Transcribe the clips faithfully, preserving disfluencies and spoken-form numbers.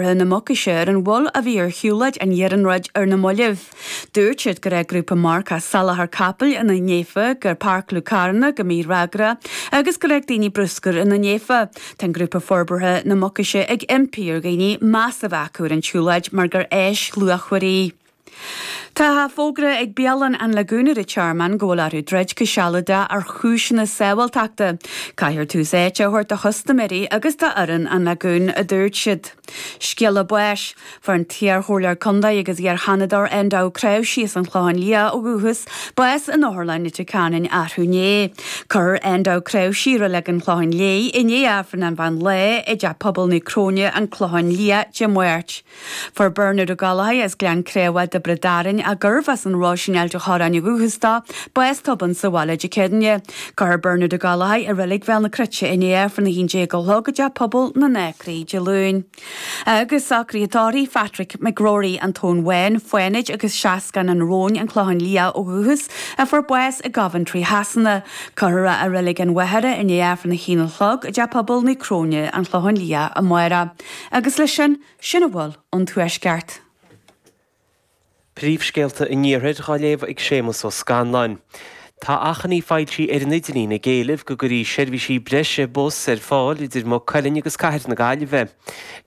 na Mucaise ar an mhoill a bhí ar shiúlóid an iarnróid ar na mallaibh. Dúirt siad go raibh grúpa marcach salachar capaill ina néafa, gur páirceáladh carranna go mífhreagrach agus go raibh daoine bruscair ina néafa. Tá an grúpa forbartha na Mucaise ag impí ar dhaoine meas a bheith acu ar an tsiúlóid mar gur áis luachmhar í. Tá fógra ag Bialann an Lagún ar an Tearmann go bhfuil orthu druid go sealadach ar chúiseanna sábháilteachta. Caithfear tús áite a thabhairt do chustaiméirí agus d'fhoireann an Lagún, a dúirt siad. Scéala báis, Fuair an t-iarchomhairleoir contae agus iar-Sheanadóir Enda Ó Cnáimhsí as an Chlochán Liath ó dhúchas, bás in Otharlann Leitir Ceanainn arú inné. Cuirfear Enda Ó Cnáimhsí i Reilig an Chlocháin Léith i ndiaidh Aifreann an mheán lae i dTeach Pobail Naomh Cróine, An Clochán Liath, Dé Máirt. Fuair Bernard Ó Gallchóir as Gleann Creamha, Tiobraid Árann, a gurbh as an Róisín Ailt an Chorráin ó dhúchas dó, bás tobann sa bhaile Dé Céadaoine. Cuirfear Bernard Ó Gallchóir i Reilig Bhéal na Cruite i ndiaidh Aifreann a haon déag a chlog i dTeach Pobail na nAcraí Dé Luain. Agus socruithe tórraimh Phatrick McGrory, An Tóin Bhán, Fánaid agus Seascann an Róin, An Clochán Liath ó dhúchas, a fuair bás i gCoventry Shasana. Cuirfear é i Reilig an Mhachaire i ndiaidh Aifreann a haon a chlog i dTeach Pobail Naomh Cróine, An Clochán Liath amárach. Agus leis sin, sin a bhfuil ón Tuaisceart. Príomhscéalta an Iarthair á léamh ag Séamus Ó Scanláin. Tá achainí foilsithe ar an idirlíon ag éileamh go gcuirfí seirbhísí breise bus ar fáil idir Maigh Cuilinn agus Cathair na Gaillimhe.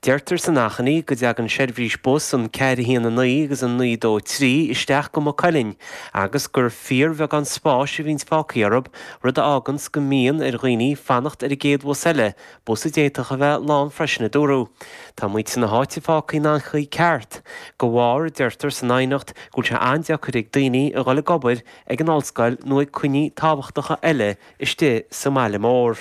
Deirtear san achainí go dtagann seirbhís bus an ceathair a haon a naoi agus an naoi dó trí isteach go Maigh Cuilinn agus gur fíorbheagán spáis a bhíonns fágtha orthu, rud a fháganns go mbíonn ar dhaoine fanacht ar an gcéad bhus eile, bus a d'fhéadfadh a bheith lán freisin, a dúradh. Tá muintir na háite fágtha in anchaoi ceart. De bharr, a deirtear san aighneacht, go bhfuil sé an-deacair ag daoine a dhul ag obair, ag an ollscoil nó ag coinní tábhachtacha eile istigh sa mbaile mór.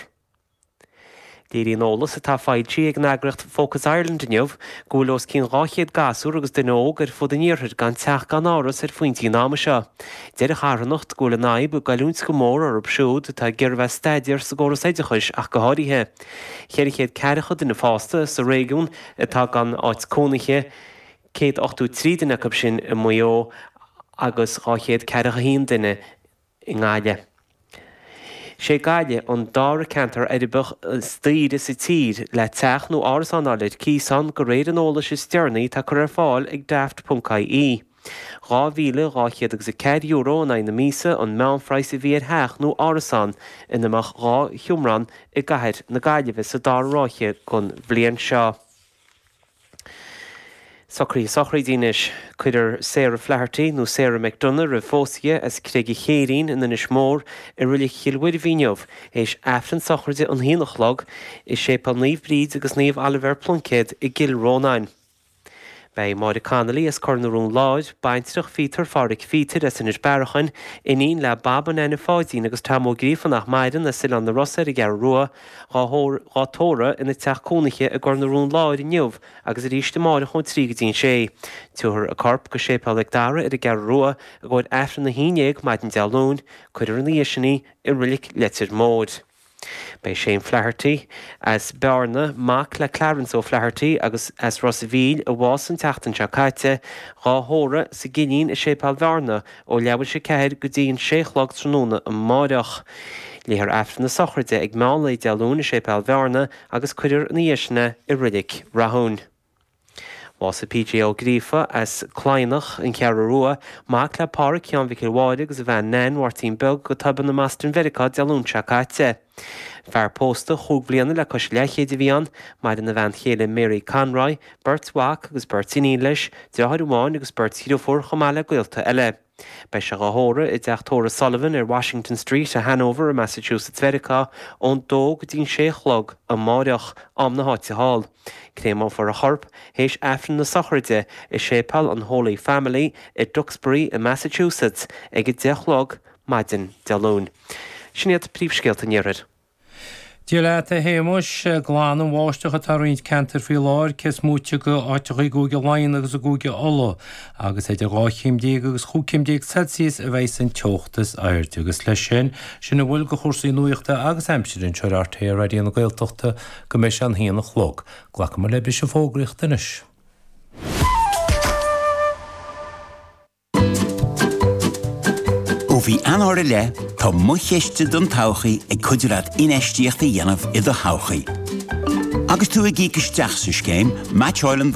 Léiríonn eolas atá foilsithe ag an eagraíocht Focus Ireland inniu go bhfuil os cionn dhá chéad gasúr agus duine óg ar fud an iarthair gan teach gan áras ar phointí an ama seo. Deir an charthanacht go bhfuil an fhadhb ag goilliúint go mór orthu siúd atá ag iarraidh bheith ag staidéar sa gcóras oideachais ach go háirithe. Ceithre chéad ceathracha duine fásta sa réigiún atá gan áit cónaithe, céad ochtó trí duine acu sin i Maigh Eo agus dhá chéad ceathracha a haon duine i nGaillimh. Sé Gaillimh an dara ceantar uirbeach is daoire sa tír le teach nó árasán a fháil ar cíos ann, de réir an eolais is deireanaí atá curtha ar fáil ag Daft ponc ie. Dhá mhíle dhá chéad agus a ceathair euro in aghaidh na míosa an meánphraghas a bhí ar theach nó árasán ina mbeadh dhá sheomra ann i gcathair na Gaillimhe sa dara ráithe den bhliain seo. Socruithe sochraide anois. Cuirfear Sarah Flaherty, nó Sarah McDonagh roimh phósadh as Creig an Chéirín in Inis Mór i Reilig Chill Mhuirbhigh inniu théis Aifreann sochraide an haon a chlog i Séipéal Naomh Bríd agus Naomh Oilibhéar Pluincéad i gCill Rónáin. Beidh Máire Connolly as Cor na Rón Láir, baintreach Phíotair Phádhraic Phíotair as Inis Bearachain, iníon le Bab and Anna Pháidín agus Tom Ó Gríofa nach maireann as Oileán na Rosa ar an gCeathrú Rua, dhá tórramh ina teach cónaithe i gCor na Rón Láir inniu agus arís amárach ón trí go dtí an sé. Tabharfar a corp go Séipéal Mhic Dara ar an gCeathrú Rua i gcomhair Aifreann a haon déag maidin Dé Luain. Cuirfear ina dhiaidh sin í i Reilig Leitir Móir. Beidh Shane Flaherty as Bearna, mac le Clarence O'Flaherty agus as Ros a' Mhíl a bhásaigh an tseachtain seo caite, dhá thórramh sa gCillín i Séipéal Bhearna ó leathuair tar éis a ceathair go dtí an sé a chlog tráthnóna amáireach. Léifear Aifreann na sochraide ag meán lae Dé Luain i Séipéal Bhearna agus cuirfear ina dhiaidh sin é i Reilig Rathúin. Bhásaigh PJ Ó Gríofa as Cladhnach, An Cheathrú Rua, mac le Páraic Sheáin Mhicil Mháire agus a bhean Nan Mháirtín Beag go tobann i mBoston Mheiriceá Dé Luain seo caite. Fear pósta chúig bhliana le cois leathchéid a bhí ann, maireann a bhean chéile Mary Conroy, beirt mhac agus beirt iníon leis, deartháir amháin agus beirt dhriofúr chomh maith le gaolta eile. Beidh sé dhá thórramh i dteach tórraimh Sullivan ar Washington Street i Hanover i Massachusetts Mheiriceá ón dó go dtí an sé a chlog amáireach, am na háite thall. Créamófar a chorp théis Aifreann na sochraide i Séipéal an Holy Family i Duxbury i Massachusetts ag a deich a chlog maidin Dé Luain. Sin iad príomhscéalta an Iarthair. Dia leat, a Shéamuis. Glan an bháisteach atá i roinnt ceantar faoi láthair, cé is móite de áiteacha i gCúige Laighean agus i gCúige Uladh, agus idir dhá chéim déag agus chúig chéim déag Celsius a bheidh an teocht is airde. Agus leis sin, sin a bhfuil de chúrsaí nuachta agus aimsire anseo ar RTÉ Raidió na Gaeltachta go mbeidh sé an haon a chlog. Glacfaimid le briseadh fógraíochta anois. Ó mhí Eanáir i leith, tá Mo Chiste don Todhchaí ag cuidiú leat infheistíocht a dhéanamh i do thodhchaí. Agus tú ag íoc isteach sa scéim, meaitseálann